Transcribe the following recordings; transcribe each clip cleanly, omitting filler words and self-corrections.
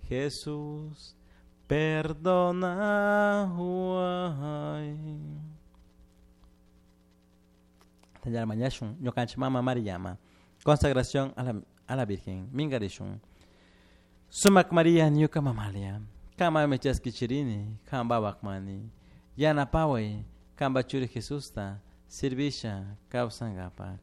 Jesús, perdonahuay. Mañashun, ñukanchik mama Mariyama. Consagración a la Virgen. Mingarishun. Sumak María ñuka mamalia. Kama chaskichirini, kamba wakmani. Yanapaway, kamba churi Jesusta, servisha kawsankapak.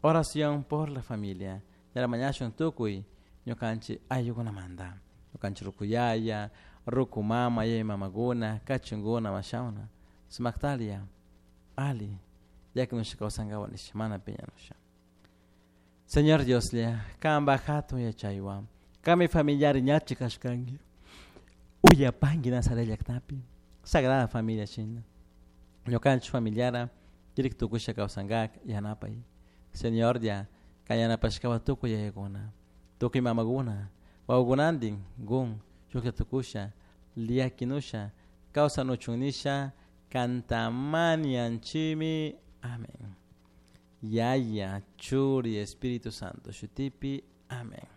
Oración por la familia. Yaramañashun tukuy ñukanchik ayllukunamanta. Ñukanchik rukuyaya, ruku mama, yaya mamaguna, kachunguna, mashawna. Sumaktalia, ali, yakinusha kawsankawa nisha, mana piñanusha. Señor Dioslla, kamba hatun yachaywan, kami familiar ñachi kashkanki. Uyapanki Nazaret llaktapi, Sagrada Familia shina. Ñukanchik familiara, kirik tukusha kawsankak yanapay. Señor ya, kayanapashkawa tukuy yayakuna, tukuy mamakuna, wawakunantin gun, shuklla tukusha, liakinusha, kawsanuchun kantamanianchimi. Amén. Yaya, Churi, Espíritu Santo, Shutipi. Amén.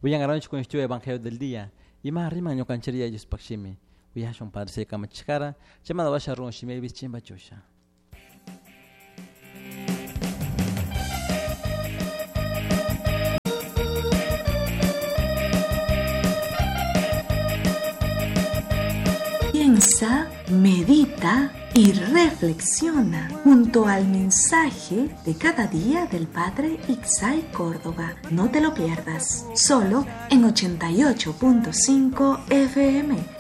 Wiyangaronchik con este Evangelio del día. Ima rima ñukanchiria Diospakshimi. Uyashun Padre se kamachikara, chamada washa run shimi chimba chusha. Piensa, medita y reflexiona junto al mensaje de cada día del Padre Ixay Córdoba. No te lo pierdas, solo en 88.5 FM.